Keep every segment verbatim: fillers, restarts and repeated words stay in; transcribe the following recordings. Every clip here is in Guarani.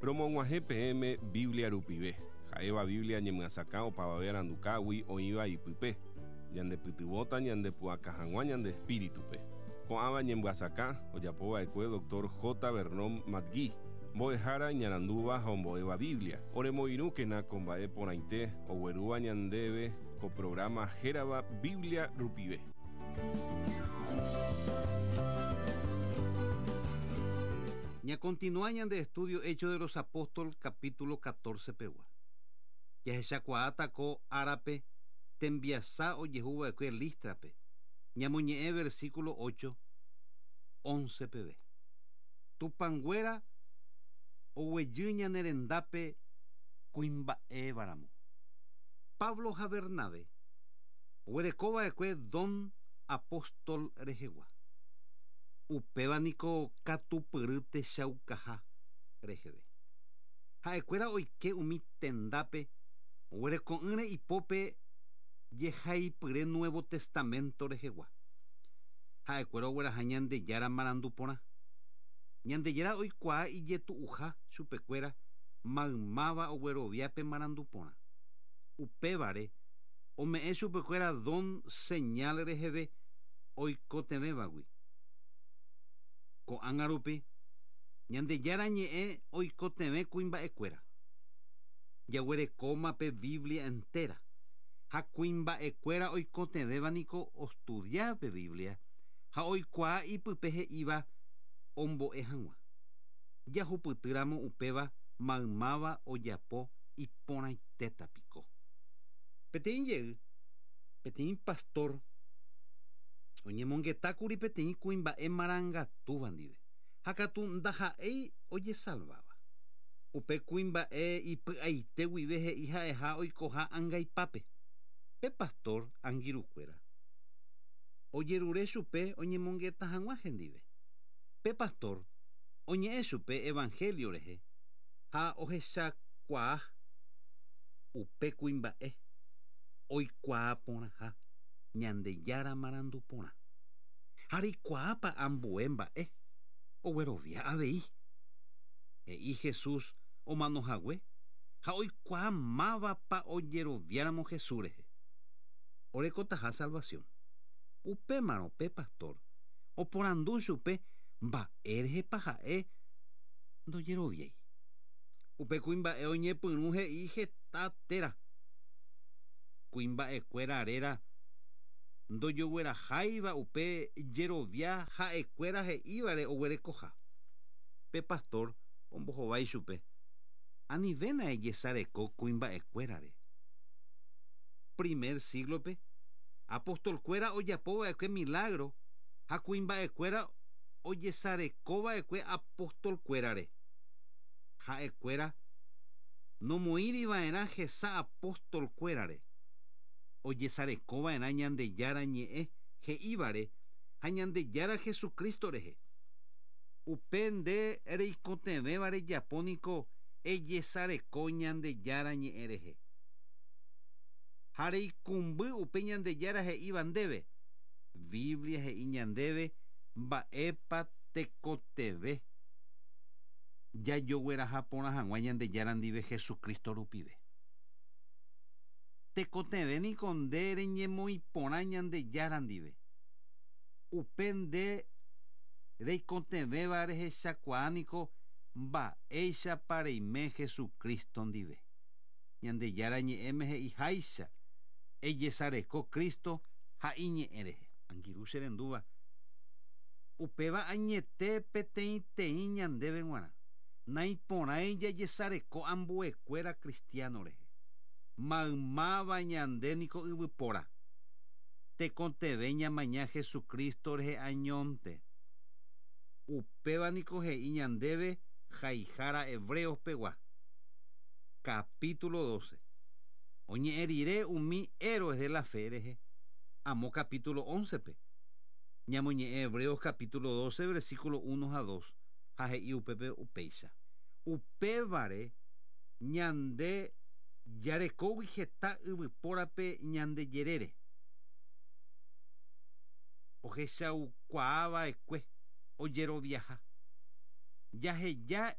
Romog̃uahẽ peẽme Biblia rupive. Ha'éva Biblia ñemyasakã opavave arandukágui oĩva ipype. Ñandepytyvõta ñandepu'aka hag̃ua ñande espíritupe. Ko'ãva ñemyasakã ojapova'ekue doctor J. Vernon McGee, mbo'ehára iñarandúva ha ombo'éva Biblia. Oremoirũkena ko mba'e porãite oguerúva ñandéve ko programa hérava Biblia rupive. Ña continúa ñande estudio Hechos de los Apóstoles capítulo catorce pegua. Jahechakuaáta ko árape tembiasa ojehuva'ekue Lístrape. Ñamoñe'ẽ versículo ocho, once peve. Tupãnguéra oguejy ñane rendápe kuimba'évaramo. Pablo ha Bernabé oguerekova'ekue don apóstol rehegua. Upéva niko katupyry techaukaha reheve. Ha'ekuéra oike umi tendápe oguereko'ỹre ipópe jehaipyre Nuevo Testamento rehegua. Ha'ekuéra ogueraha Ñandejára marandu porã. Ñandejára oikuaa ijetu'uha chupekuéra maymáva ogueroviápe marandu porã. Upévare ome'ẽ chupekuéra don señal reheve oikotevẽvagui. Ko'ág̃a rupi Ñandejára ñe'ẽ oikotevẽ kuimba'ekuéra. Jaguerekóma pe Biblia entera. Ha kuimba'ekuéra oikotevẽva niko ostudia pe Biblia ha oikuaa ipype he'íva ombo'e hag̃ua. Jahupytýramo upéva maymáva ojapo iporãitéta piko. Peteĩ jey, peteĩ pastor oñemongetákuri peteĩ kuimba'e marangatúva ndive. Ha katu ndaha'éi ojesalváva. Upe kuimba'e ipy'aite guive he'i ha'eha oikoha angaipápe. Pe pastor angirũkuéra ojerure chupe oñemongeta hag̃ua hendive. Pe pastor oñe'ẽ chupe evangelio rehe ha ohechakuaa upe kuimba'e oikuaa porãha Ñandejára marandu porã. Ha reikuaápa ambue mba'e oguerovia avei. He'i Jesús omanohague ha oikuaa mávapa ojeroviáramo Jesús rehe. Orekotaha salvación. Upémarõ pe pastor oporandu chupe mba'érehepa ha'e ndojeroviái. Upe kuimba'e oñepyrũ he'i heta téra. Kuimba'ekuéra réra ndojogueraháiva upe jerovia ha'ekuéra he'ívare oguerekoha. Pe pastor ombohovái chupe anivéna ejesareko kuimba'ekuérare. Primer siglope apostolkuéra ojapova'ekue milagro ha kuimba'ekuéra ojesarekova'ekue apostolkuérare. Ha'ekuéra nomoĩriva'erã hesa apostolkuérare. Ojesarekova'erã Ñandejára ñe'ẽ he'ívare ha Ñandejára Jesucristo rehe. Upe nde reikotevẽva rejapo niko ejesareko Ñandejára ñe'ẽ rehe. Ha reikumby upe Ñandejára he'íva ndéve. Biblia he'i ñandéve mba'épa tekotevẽ jajogueraha porã hag̃ua Ñandejára ndive Jesucristo rupive. Tekotevẽ niko nde reñemoĩ porã Ñandejára ndive. Upe nde reikotevẽva rehechakuaa niko mba'éichapa reime Jesucristo ndive. Ñandejára ñe'ẽme he'iháicha ejesareko Cristo ha iñe'ẽ rehe. Angirũ che rendúva. Upéva añete peteĩteĩ ñandéve g̃uarã. Naiporãi jajesareko ambuekuéra cristiano rehe. Maymáva ñande niko yvypóra. Tekotevẽ ñamaña Jesucristo rehe añónte. Upéva niko he'i ñandéve haihára Hebreos pegua. Capítulo doce. Oñe'ẽ rire umi héroes de la fe rehe. Amo capítulo once pe. Ñamoñe'ẽ Hebreos capítulo doce versículo uno a dos. Ha he'i upépe upéicha. Upévare ñande jarekógui heta yvypórape ñande jerére. Ohechaukuaava'ekue ojeroviaha. Jaheja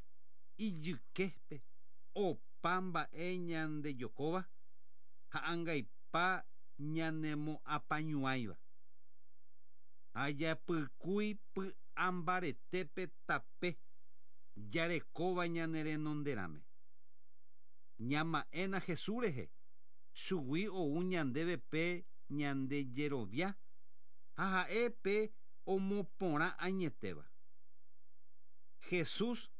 Ijyképe opa mba'e ñandejokóva ha angaipa ñanemoapañuãiva. Ha japykúi py'ambaretépe tape jarekóva ñane renonderãme. Ñama'ẽna Jesús rehe chugui ou ñandéve pe ñandejerovia ha ha'e pe omoporã añetéva. Jesús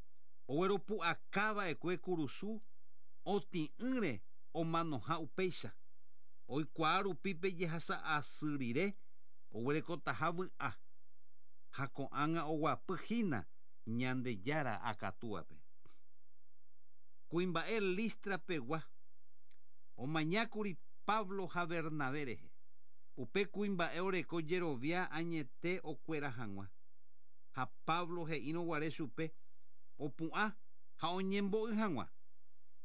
ogueropu'akava'ekue kurusu otĩ'ỹre omanoha upéicha. Oikuaa rupi pe jehasa asy rire oguerekotaha vy'a ha ko'ág̃a oguapyhína Ñandejára akatúape. Kuimba'e Listra pegua omañákuri Pablo ha Bernabé rehe. Upe kuimba'e oreko jerovia añete okuera hag̃ua. Ha Pablo he'írõ guare chupe opu'ã ha oñembo'y hag̃ua.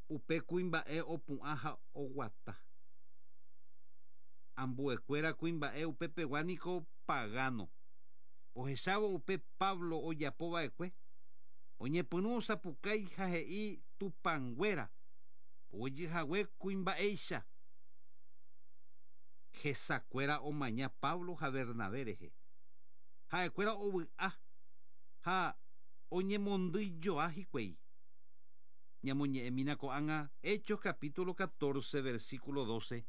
Upe kuimba'e opu'ã ha oguata. Ambuekuéra kuimba'e upepegua niko pagano. Ohechávo upe Pablo ojapova'ekue oñepyrũ osapukái ha he'i tupãnguéra ojyhague kuimba'éicha. Hesakuéra omaña Pablo ha Bernabé rehe. Ha'ekuéra ovy'a ha oñemondýijoa hikuái. Ñamoñe'ẽmína ko'ág̃a Hechos capítulo catorce versículo doce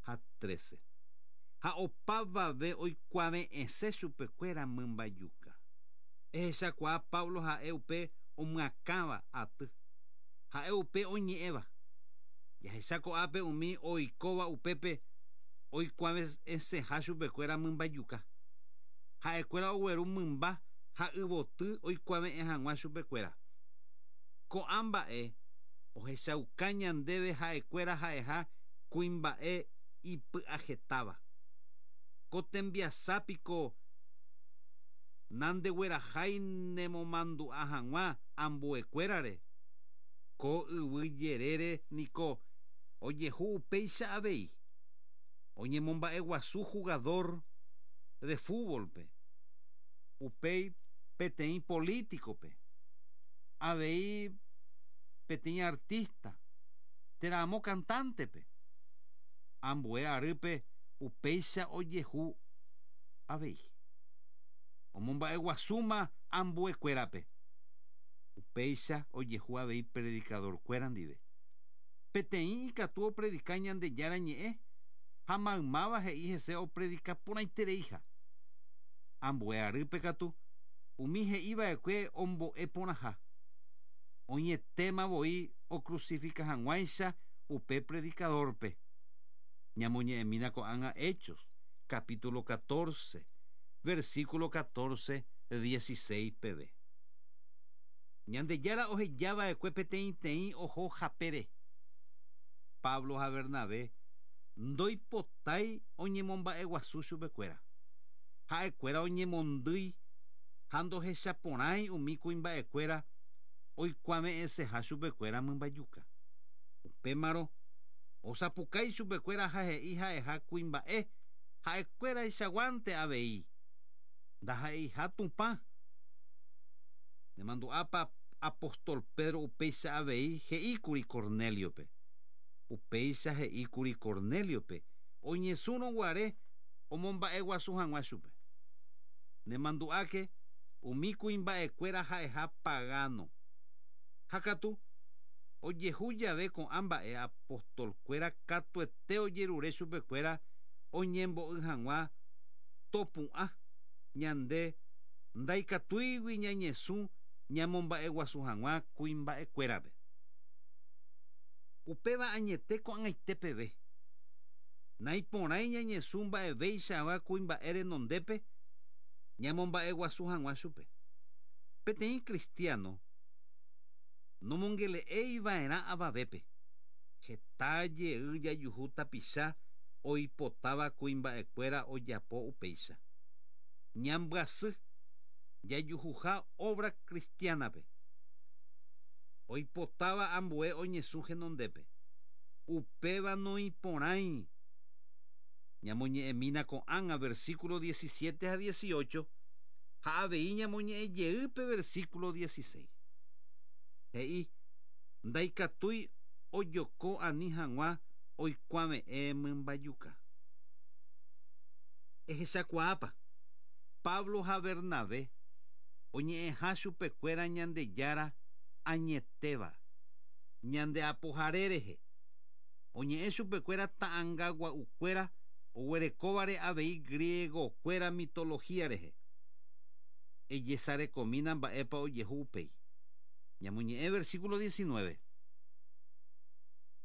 ha trece. Ha opavave oikuave'ẽse chupekuéra mymbajuka. Ehechakuaa Pablo ha'e upe omyakãva aty. Ha'e upe oñe'ẽva. Jahecha ko'ápe umi oikóva upépe oikuave'ẽseha chupekuéra mymbajuka. Ha'ekuéra ogueru mymba ha yvoty oikuave'ẽ hag̃ua chupekuéra. Ko'ã mba'e ohechauka ñandéve ha'ekuéra ha'eha kuimba'e ipy'ajetáva. Ko tembiasápiko nandeguerahái nemomandu'a hag̃ua ambuekuérare. Ko yvy jerére niko ojehu upéicha avei. Oñemomba'eguasu jugador de fútbolpe. Upéi peteĩ políticope. Avei peteĩ artista térã amo cantantepe. Ambue arýpe upéicha ojehu avei. Omomba'eguasúma ambuekuérape. Upéicha ojehu avei predicadorkuéra ndive. Peteĩ ikatu opredika Ñandejára ñe'ẽ ha maymáva he'i hese opredika porãitereiha. Ambue arýpe katu umi he'iva'ekue ombo'e porãha. Oñetéma voi ocrucifica hag̃uáicha upe predicadorpe. Ñamoñe'ẽmína ko'ág̃a Hechos capítulo catorce versículo catorce dieciséis peve. Ñandejára ohejava'ekue peteĩteĩ oho hapére. Pablo ha Bernabé ndoipotái oñemomba'eguasu chupekuéra. Ha'ekuéra oñemondýi ha ndohechaporãi umi kuimba'ekuéra oikuave'ẽseha chupekuéra mymbajuka. Upémarõ osapukái chupekuéra ha he'i ha'eha kuimba'e ha'ekuéraichaguánte avei. Ndaha'eiha Tupã. Nemandu'ápa apóstol Pedro upéicha avei he'íkuri Corneliope. Upéicha he'íkuri Corneliope oñesũrõ guare omomba'eguasu hag̃ua chupe. Nemandu'áke umi kuimba'ekuéra ha'eha pagano. Ha katu ojehu jave ko'ã mba'e apostolkuéra katuete ojerure chupekuéra oñembo'y hag̃ua topu'ã ñande ndaikatúigui ñañesũ ñamomba'eguasu hag̃ua kuimba'ekuérape. Upéva añete ko'ag̃aite peve. Naiporãi ñañesũ mba'evéichagua kuimba'e renondépe ñamomba'eguasu hag̃ua chupe. Peteĩ cristiano nomongele'eiva'erã avavépe. Heta jey jajuhu tapicha oipotáva kuimba'ekuéra ojapo upéicha. Ñambyasy jajuhuha obra cristianape. Oipotáva ambue oñesũ henondépe. Upéva noiporãi. Ñamoñe'ẽmína ko'ág̃a versículo diecisiete ha dieciocho ha avei ñamoñe'ẽjeýpe versículo dieciséis. He'i ndaikatúi ojoko ani hag̃ua oikuave'ẽ mymbajuka. Ehechakuaápa Pablo ha Bernabé oñe'ẽha chupekuéra Ñandejára añetéva ñande apohare rehe. Oñe'ẽ chupekuéra ta'ãngagua'ukuéra oguerekóvare avei griegokuéra mitología rehe. Ejesarekomína mba'épa ojehu upéi. Ñamoñe'ẽ versículo diecinueve.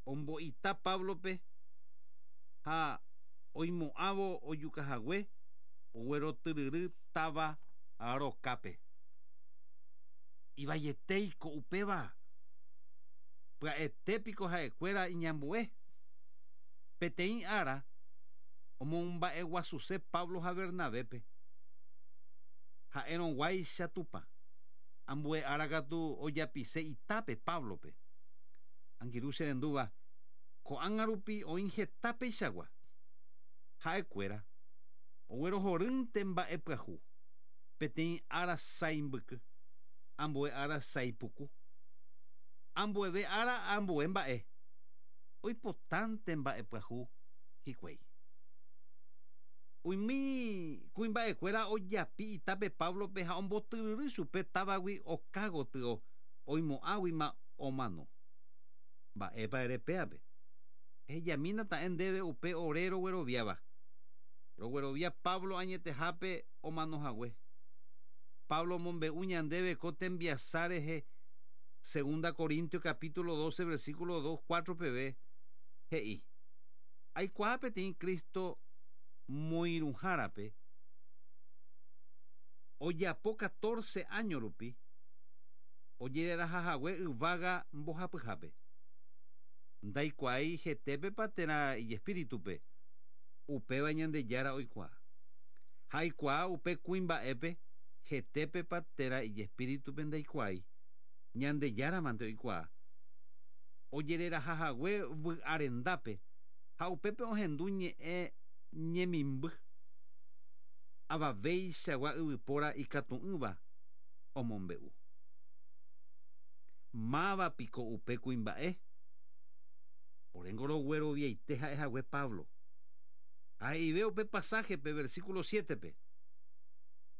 Ombo'ita Pablope ha oimo'ãvo ojukahague oguerotyryry táva rokápe. Ivaietéiko upéva. Pya'etépiko ha'ekuéra iñambue. Peteĩ ára omomba'eguasuse Pablo ha Bernabépe. Ha'erõguáicha Tupã. Ambue ára katu ojapise itápe Pablope. Angirũ che rendúva ko'ág̃a rupi oĩ heta peichagua. Ha'ekuéra oguerohorýnte mba'e pyahu. Peteĩ ára saimbyky, ambue ára saipuku. Ambueve ára ambue mba'e. Oipotánte mba'e pyahu hikuái. Umi kuimba'ekuéra ojapi itápe Pablope ha ombotyryry chupe távagui okágotyo oimo'ãguima omano. Mba'épa ere péape. Ehejamína ta'e ndéve upe ore rogueroviáva. Roguerovia Pablo añetehápe omanohague. Pablo omombe'u ñandéve ko tembiasa rehe Segunda Corintios capítulo doce versículo dos cuatro peve he'i. Aikuaa peteĩ Cristo moirũhárape ojapo catorce año rupi ojererahahague yvága mbohapyhápe. Ndaikuaái hetépepa térã ijespíritupe upéva Ñandejára oikuaa. Ha aikuaa upe kuimba'épe hetépepa térã ijespíritupe ndaikuaái. Ñandejáramante oikuaa. Ojererahahague vy'arendápe ha upépe ohendu ñe'ẽ ñemimby. Avaveichagua yvypóra ikatu'ỹva omombe'u. Mávapiko upe kuimba'e. Oréngo rogueroviaite ha'ehague Pablo. He'ive upe pasajepe versículo siete-pe.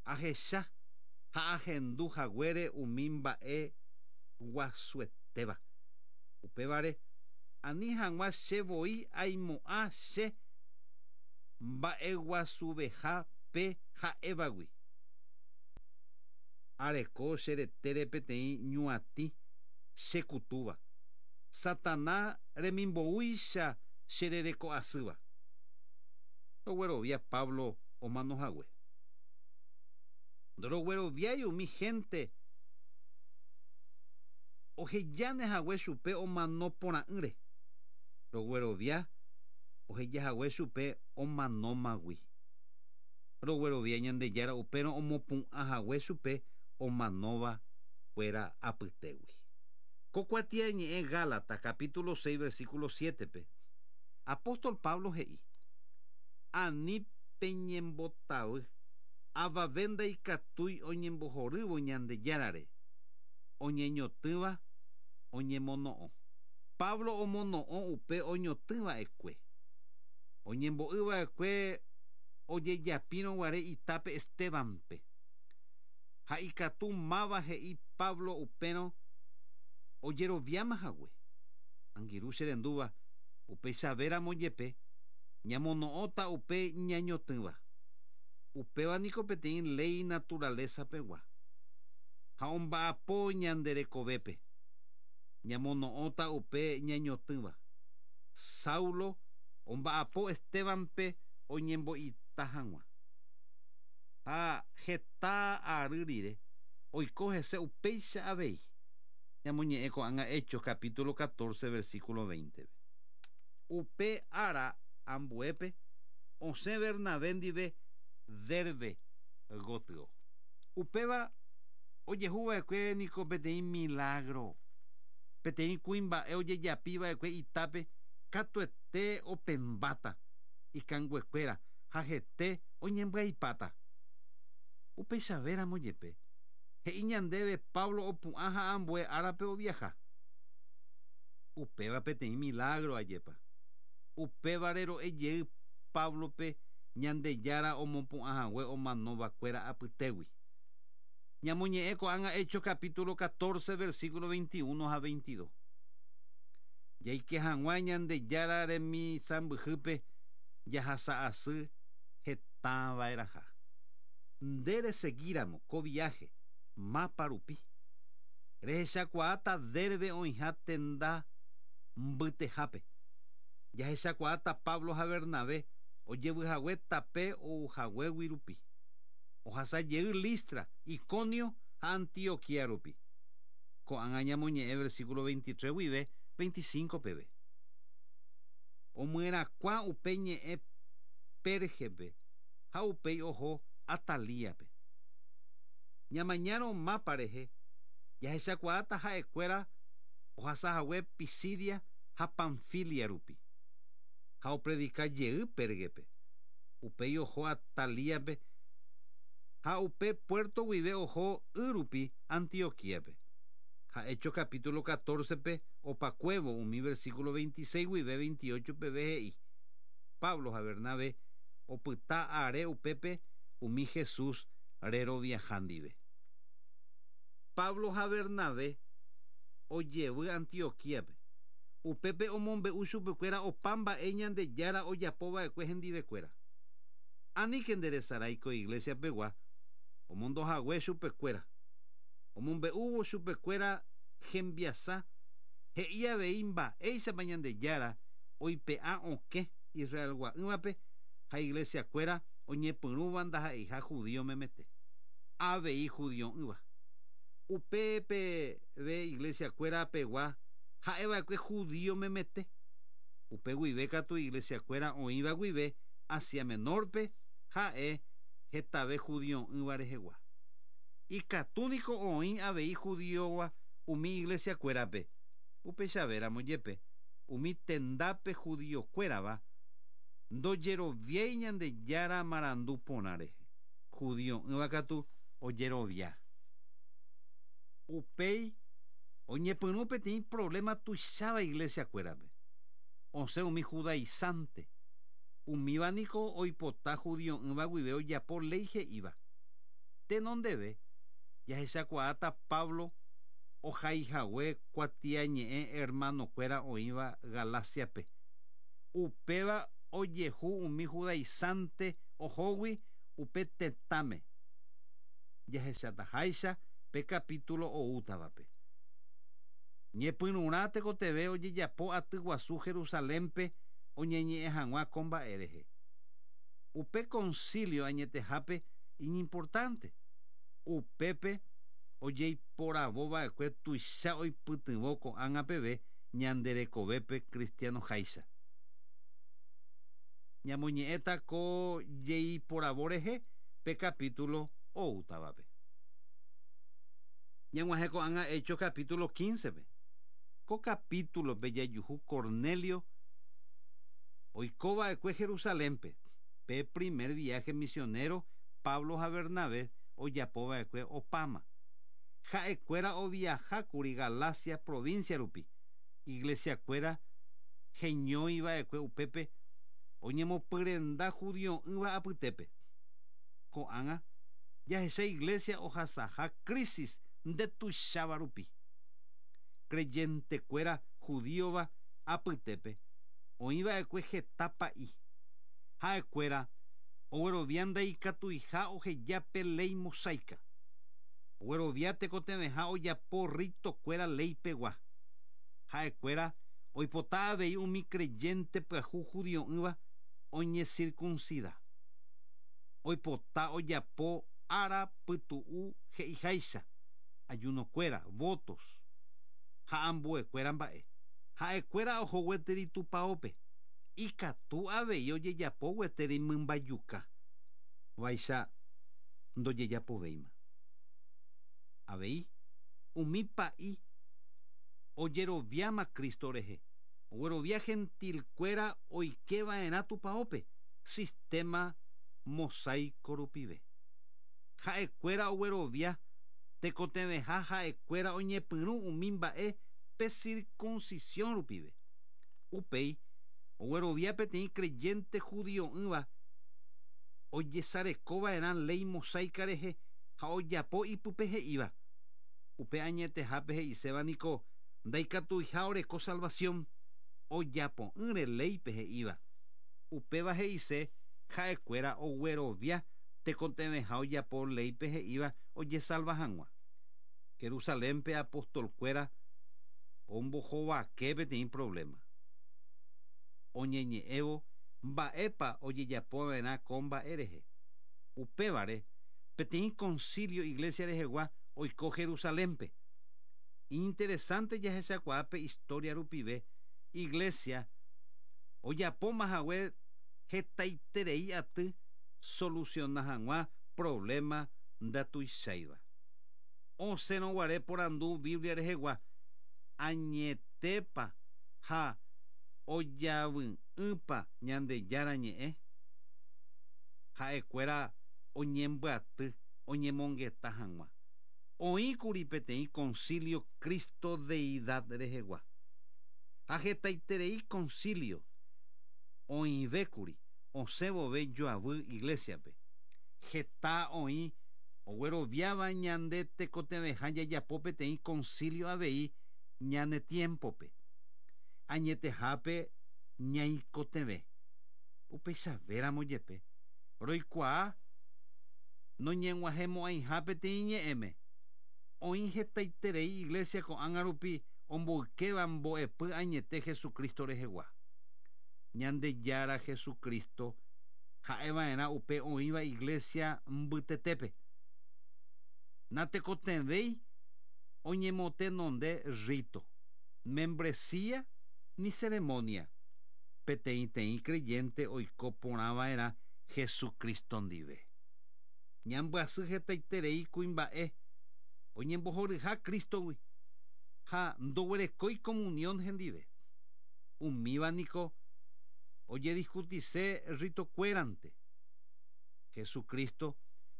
Ahecha ha ahendu haguére umi mba'e guasuetéva. Upévare ani hag̃ua che voi aimo'ã che mba'eguasuveha pe ha'évagui. Areko che retére peteĩ ñuatĩ chekutúva. Satana remimboúicha che rereko'asýva. Roguerovia Pablo omanohague. Ndorogueroviái umi gente ohejánehague chupe omanoporã'ỹre. Roguerovia ohejahague chupe omanómagui. Roguerovia Ñandejára upérõ omopu'ãhague chupe omanóva kuéra apytégui. Ko kuatiañe'ẽ Gálatas capítulo seis versículo siete-pe. Apóstol Pablo he'i: Ani peñembotavy avave ndaikatúi oñembohorývo Ñandejárare oñeñotỹva oñemono'õ. Pablo omono'õ upe oñotỹva'ekue. Oñembo'yva'ekue ojejapírõguare itápe Estebanpe. Ha ikatu máva he'i Pablo upérõ ojeroviámahague. Angirũ che rendúva upeichavéramo jepe ñamono'õta upe ñañotỹva. Upéva niko peteĩ ley naturaleza pegua. Ha omba'apo ñande rekovépe. Ñamono'õta upe ñañotỹva. Saulo omba'apo Estebanpe oñembo'ita hag̃ua. Ha heta ary rire oiko hese upéicha avei. Ñamoñe'ẽ ko'ág̃a Hechos capítulo catorce versículo veinte. Upe ára ambuépe osẽ Bernabé ndive Derbe gotyo. Upéva ojehuva'ekue niko peteĩ milagro. Peteĩ kuimba'e ojejapiva'ekue itápe katuete opembáta ikanguekuéra ha hete oñembyaipáta. Upeichavéramo jepe He'i ñandéve Pablo opu'ã ha ambue árape oviaha. Upéva peteĩ milagro ajépa. Upévare ro'ejey Pablope Ñandejára omopu'ãhague omanovakuéra apytégui. Ñamoñe'ẽ ko'ág̃a Hechos capítulo catorce versículo veintiuno ha veintidós. Jaike hag̃ua Ñandejára remisãmbyhýpe jahasa'asy hetava'erãha. Nde reseguíramo ko viaje mapa rupi. Rehechakuaáta Derbe oĩha tenda mbytehápe. Jahechakuaáta Pablo ha Bernabé ojevyhague tape ouhaguégui rupi. Ohasajey Listra, Iconio ha Antioquia rupi. Ko'ág̃a ñamoñe'ẽ versículo veintitrés guive veinticinco peve. Omyerakuã upe ñe'ẽ Pérgepe ha upéi oho Atalíape. Ñamañárõ mapa rehe jahechakuaáta ha'ekuéra ohasahague Pisidia ha Panfilia rupi. Ha opredika jey Pérgepe. Upéi oho Atalíape ha upe puerto guive oho y rupi Antioquíape. Ha Hechos capítulo catorce pe opakuévo umi versículo veintiséis guive veintiocho peve he'i. Pablo ha Bernabé opyta are upépe umi Jesús reroviaha ndive. Pablo ha Bernabé ojevy Antioquíape. Upépe omombe'u chupekuéra opa mba'e Ñandejára ojapova'ekue hendivekuéra. Aníke nderesarái ko iglesia pegua omondohague chupekuéra. Omombe'úvo chupekuéra hembiasa he'i avei mba'éichapa Ñandejára oipe'a okẽ Israelgua'ỹvape ha iglesiakuéra oñepyrũva ndaha'eiha judío memete. Avei judio'ỹva. Upépe ve iglesiakuéra pegua ha'eva'ekue judío memete. Upe guive katu iglesiakuéra oĩva guive Asia Menorpe ha'e hetave judio'ỹva rehegua. Ikatúniko oĩ avei judíova umi iglesiakuérape. Upechavéramo jepe umi tendápe judiokuérava ndojeroviái Ñandejára marandu porã rehe. Judio'ỹva katu ojerovia. Upéi oñepyrũ peteĩ problema tuicháva iglesiakuérape. Osẽ umi judaizante. Umíva niko oipota judio'ỹva guive ojapo léi he'íva. Tenondeve jahechakuaáta Pablo ohaihague kuatiañe'ẽ hermanokuéra oĩva Galaciape. Upéva ojehu umi judaizante ohógui upe tetãme. Jahechataháicha pe capítulo oútavape. Ñepyrũrã tekotevẽ ojejapo aty guasu Jerusalénpe oñeñe'ẽ hag̃ua ko mba'e rehe. Upe concilio añetehápe iñimportante. Upépe ojeiporavova'ekue tuicha oipytyvõ ko'ág̃a peve ñanderekovépe cristianoháicha. Ñamoñe'ẽta ko jeiporavo rehe pe capítulo oútavape. Ñag̃uahẽ ko'ág̃a Hechos capítulo quince pe. Ko capítulope jajuhu Cornelio oikova'ekue Jerusalénpe. Pe primer viaje misionero Pablo ha Bernabé ojapova'ekue opáma. Ha'ekuéra oviahákuri Galacia provincia rupi. Iglesiakuéra heñóiva'ekue upépe oñemopyrenda judio'ỹva apytépe. Ko'ág̃a jahecha iglesia ohasaha crisis ndetuicháva rupi. Creyentekuéra judíova apytépe oĩva'ekue heta pa'i. Ha'ekuéra oguerovia ndaikatuiha oheja pe léi mosaica. Oguerovia tekotevẽha ojapo ritokuéra léipegua. Ha'ekuéra oipota avei umi creyente pyahu judio'ỹva oñecircuncida. Oipota ojapo ára pytu'u he'iháicha, ayunokuéra, votos ha ambuekuéra mba'e. Ha'ekuéra oho gueteri tupaópe. Ikatu avei ojejapo gueteri mymbajuka. Vaicha ndojejapovéima. Avei umi pa'i ojeroviáma Cristo rehe. Oguerovia gentilkuéra oikeva'erã tupaópe sistema mosaico rupive. Ha'ekuéra oguerovia Tekotevẽha ha'ekuéra oñepyrũ umi mba'e pe circuncisión rupive. Upéi oguerovia peteĩ creyente judio'ỹva ojesarekova'erã ley mosaica rehe ha ojapo ipype he'íva. Upe añetehápe he'iséva niko ndaikatuiha oreko salvación ojapo'ỹre léipe he'íva. Upéva he'ise ha'ekuéra oguerovia tekotevẽha ojapo léipe he'íva ojesalva hag̃ua. Jerusalénpe apostolkuéra ombohovake peteĩ problema. Oñeñe'ẽvo mba'épa ojejapova'erã ko mba'e rehe. Upévare peteĩ concilio iglesia rehegua oiko Jerusalénpe. Interesante jahechakuaa historia rupive iglesia ojapóma hague hetaiterei aty soluciona hag̃ua problema ndatuicháiva. Osẽrõguare porandu Biblia rehegua añetépa ha ojavy'ỹpa Ñandejára ñe'ẽ. Ha'ekuéra oñembyaty oñemongeta hag̃ua. Oĩkuri peteĩ concilio Cristo deidad rehegua. Ha hetaiterei concilio oĩvékuri osẽvove joavy iglesiape. Heta oĩ ogueroviáva ñande tekotevẽha jajapo peteĩ concilio avei ñane tiempope. Añetehápe ñaikotevẽ. Upeichavéramo jepe roikuaa noñeg̃uahẽmo'ãiha peteĩ ñe'ẽme. Oĩ hetaiterei iglesia ko'ág̃a rupi omboykéva mbo'epy añete Jesucristo rehegua. Ñandejára Jesucristo ha'eva'erã upe oĩva iglesia mbytetépe. Natekotevẽi oñemotenonde rito, membresía ni ceremonia. Peteĩteĩ creyente oiko porãva'erã Jesucristo ndive. Ñambyasy hetaiterei kuimba'e oñembohoryha Cristogui ha ndoguerekói comunión hendive. Umíva niko ojediscutise ritokuérante. Jesucristo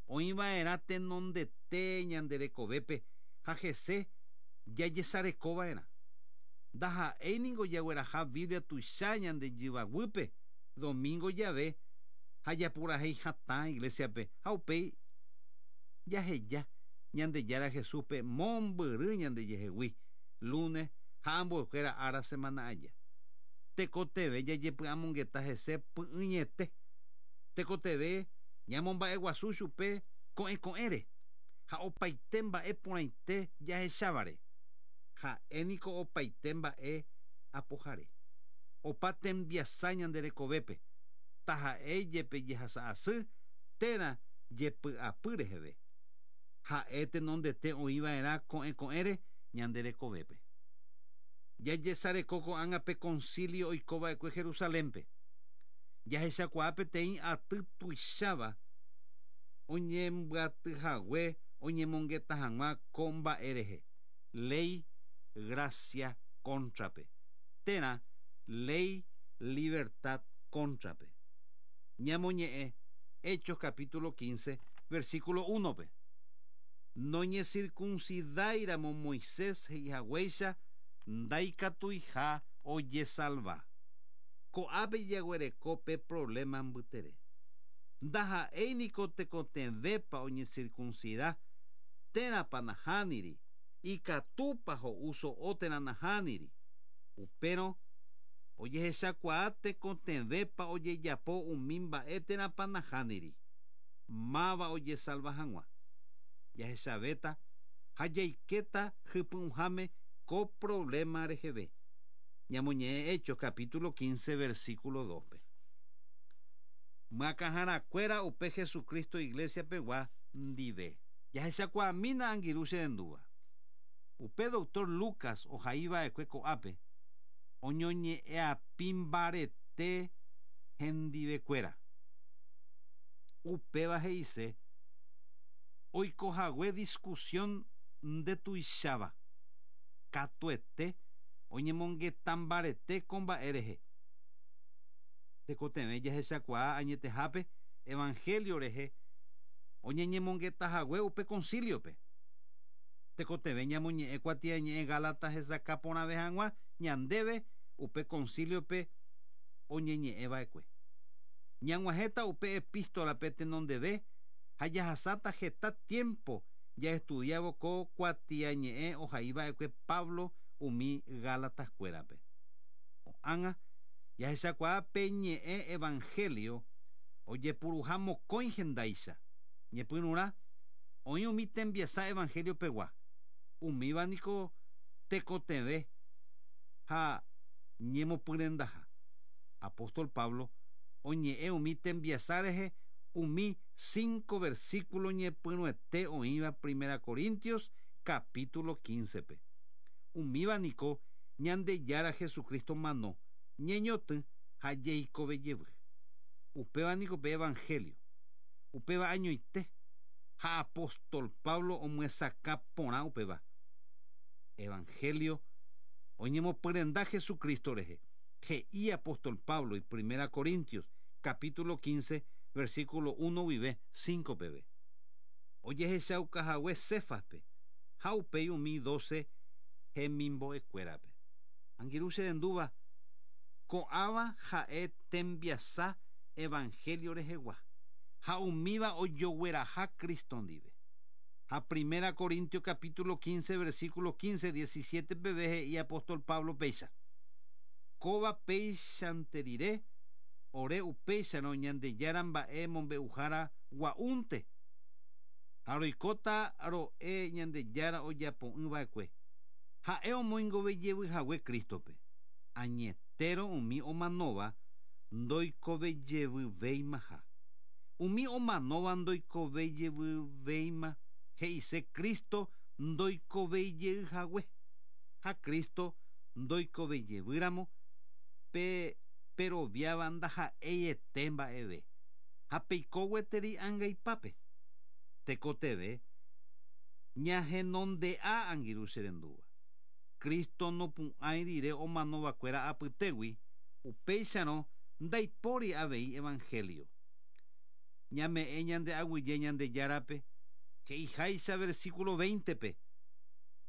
oĩva'erã tenondete ñanderekovépe ha hese jajesarekova'erã. Ndaha'éi niko jagueraha Biblia tuicha ñande jyvaguýpe domingo jave ha japurahéi hatã iglesiape ha upéi jaheja Ñandejára Jesúspe mombyry ñandejehegui lunes ha ambuekuéra ára semana aja. Tekotevẽ jajepy'amongeta hese py'ỹiete. Tekotevẽ ñamomba'eguasu chupe ko'ẽko'ẽre ha opaite mba'e porãite jahechávare. Ha'e niko opaite mba'e apohare. Opa tembiasa ñanderekovépe taha'e jepe jehasa'asy térã jepy'apy reheve. Ha'e tenondete oĩva'erã ko'ẽko'ẽre ñanderekovépe. Jajesareko ko'ág̃a pe concilio oikova'ekue Jerusalénpe. Jahechakuaa peteĩ aty tuicháva oñembyatyhague oñemongeta hag̃ua ko mba'e rehe. Ley gracia contrape. Térã ley libertad contrape. Ñamoñe'ẽ Hechos capítulo quince, versículo uno-pe. Noñecircuncidáiramo Moisés he'ihaguéicha ndaikatuiha ojesalva. Ko'ápe jaguereko pe problema mbytere. Ndaha'éi niko tekotevẽpa oñecircuncida térãpa nahániri, ikatúpa ho'u so'o térã nahániri. Upérõ ojehechakuaa tekotevẽpa ojejapo umi mba'e térãpa nahániri. Máva ojesalva hag̃ua. Jahechavéta ha jaikéta hypy'ũháme ko problema reheve. Ñamoñe'ẽ Hechos capítulo quince, versículo dos-pe. Myakãharakuéra upe Jesucristo iglesia pegua ndive. Jahechakuaamína angirũ cherendúva. Upe doctor Lucas ohaiva'ekue ko'ápe oñoñe'ẽapi mbarete hendivekuéra. Upéva he'ise oikohague discusión ndetuicháva. Katuete oñemongeta mbarete ko mba'e rehe. Tekotevẽ jahechakuaa añetehápe evangelio rehe oñeñemongetahague upe conciliope. Tekotevẽ ñamoñe'ẽ kuatiañe'ẽ Gálatas hesakã porãve hag̃ua ñandéve upe concilio-pe oñeñe'ẽva'ekue. Ñag̃uahẽta upe epístola-pe tenondeve ha jahasáta heta tiempo jaestudiávo ko kuatiañe'ẽ ohaiva'ekue Pablo umi Gálatas-kuérape. Ko'ág̃a jahechakuaa pe ñe'ẽ evangelio ojepuruha mokõi hendáicha. Ñepyrũrã oĩ umi tembiasa evangelio-pegua. Umíva niko tekotevẽ ha ñemopyrendaha. Apóstol Pablo oñe'ẽ umi tembiasa rehe umi cinco versículo ñepyrũete oĩva Primera Corintios capítulo quince-pe. Umíva niko Ñandejára Jesucristo mano ñeñotỹ ha jeikove jevy. Upéva niko pe evangelio. Upéva añoite ha apóstol Pablo omyesakã porã upéva. Evangelio oñemopyrenda Jesucristo rehe. He'i apóstol Pablo y Primera Corintios capítulo quince versículo uno guive cinco peve. Ojehechaukahague Cefaspe ha upéi umi doce hemimbo'ekuérape. Angirũ cherendúva ko'ãva ha'e tembiasa evangelio rehegua ha umíva ojogueraha Cristo ndive. Ha Primera Corintios capítulo quince versículo quince diecisiete peve he'i apóstol Pablo péicha. Kóva péichante rire ore upéicharõ Ñandejára mba'e mombe'uhára gua'únte. Ha roikóta ro'e Ñandejára ojapo'ỹva'ekue. Ha'e omoingovejevyhague Cristo-pe. Añetérõ umi omanóva ndoikovejevyvéimaha. Umi omanóva ndoikovejevyvéima he'ise Cristo ndoikovejeyhague. Ha Cristo ndoikovejevýramo pe peroviáva ndaha'eiete mba'eve. Ha peiko gueteri angaipápe. Tekotevẽ ñahenonde'a angirũ cherendúva. Cristo nopu'ãi rire omanovakuéra apytégui upéicharõ ndaipóri avei evangelio. Ñame'ẽ ñande aguyje Ñandejárape he'iháicha versículo veinte-pe.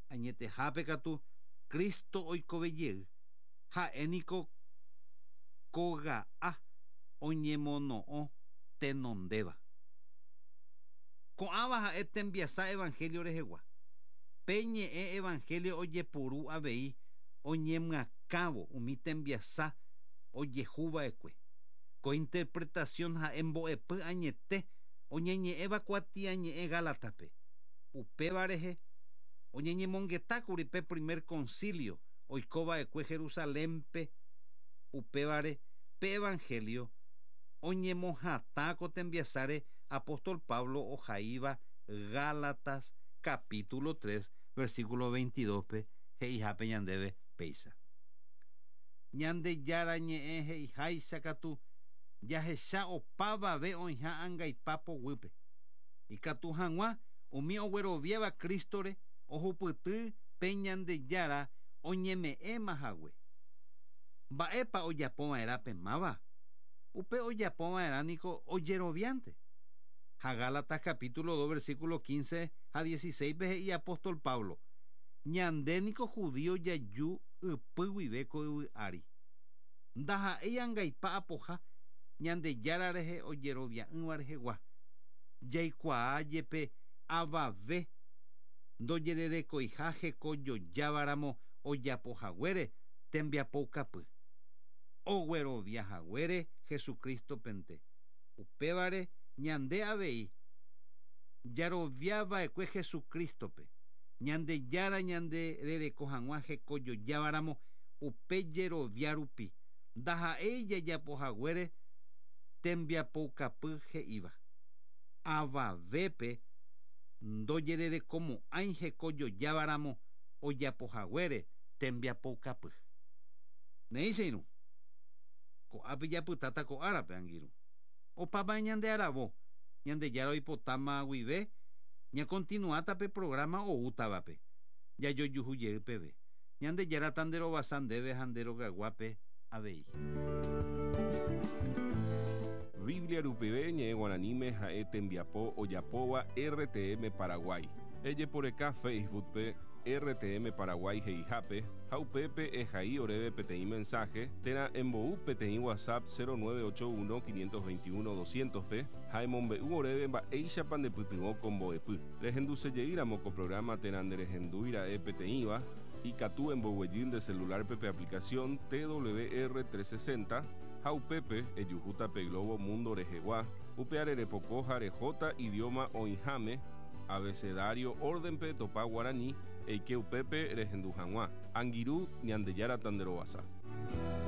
Añetehápe katu Cristo oikovejey ha'e niko kóga'a oñemono'õ tenondéva. Ko'ãva ha'e tembiasa evangelio rehegua. Pe ñe'ẽ evangelio ojepuru avei oñemyakãvo umi tembiasa ojehuva'ekue. Ko interpretación ha'e mbo'epy añete oñeñe'ẽva kuatiañe'ẽ Gálataspe. Upéva rehe oñeñemongetákuri pe primer concilio oikova'ekue Jerusalénpe. Upévare pe evangelio oñemohatã ko tembiasáre apóstol Pablo ohaíva Gálatas capítulo tres versículo veintidós-pe he'ihápe ñandéve péicha. Ñandejára ñe'ẽ he'iháicha katu jahecha opavave oĩha angaipa poguýpe. Ikatu hag̃ua umi ogueroviáva Cristore ohupyty pe Ñandejára oñeme'ẽmahague. Mba'épa ojapova'erã pe máva? Upe ojapova'erã niko ojeroviánte. Ha Gálatas capítulo dos versículo quince ha dieciséis-pe he'i apóstol Pablo: Ñande niko judío jaju ypy guive ko yvy ári. Ndaha'éi angaipa apoha Ñandejára rehe ojerovia'ỹva rehegua. Jaikuaa jepe avave ndojererekoiha hekojojávaramo ojapohaguére tembiapoukapy. Ogueroviahaguére Jesucristo-pente. Upévare ñande avei jaroviava'ekue Jesucristo-pe. Ñandejára ñande rereko hag̃ua hekojojávaramo upe jerovia rupi. Ndaha'éi jajapohaguére tembiapoukapy he'íva. Avavépe ndojererekomo'ãi hekojojávaramo ojapohaguére tembiapoukapy. Néi che irũ. Ko'ápe japytáta ko árape angirũ. Opápa ñande aravo. Ñandejára oipotáma guive ñakontinuáta pe programa oútavape. Jajojuhu peve. Ñandejára tanderovasa ndéve ha nde rogaguápe avei. Biblia rupive ñe'ẽ guaraníme ha'e tembiapo ojapóva R T M Paraguay. Ejeporeka Facebook pe R T M Paraguay he'ihápe ha upépe ehai oréve peteĩ mensaje térã embou peteĩ WhatsApp cero nueve ocho uno quinientos veintiuno doscientos pe ha emombe'u oréve mba'éichapa ndepytyvõ ko mbo'epy. Rehendusejeýramo ko programa térã nderehendúira'e peteĩva, ikatu emboguejy nde celular-pe pe aplicación T W R trescientos sesenta ha upépe ejuhúta pe globo mundo rehegua, upe repoko ha rehóta idioma oĩháme abecedario orden-pe topa guaraní eike upépe rehendu hag̃ua. Angirũ, Ñandejára tanderovasa.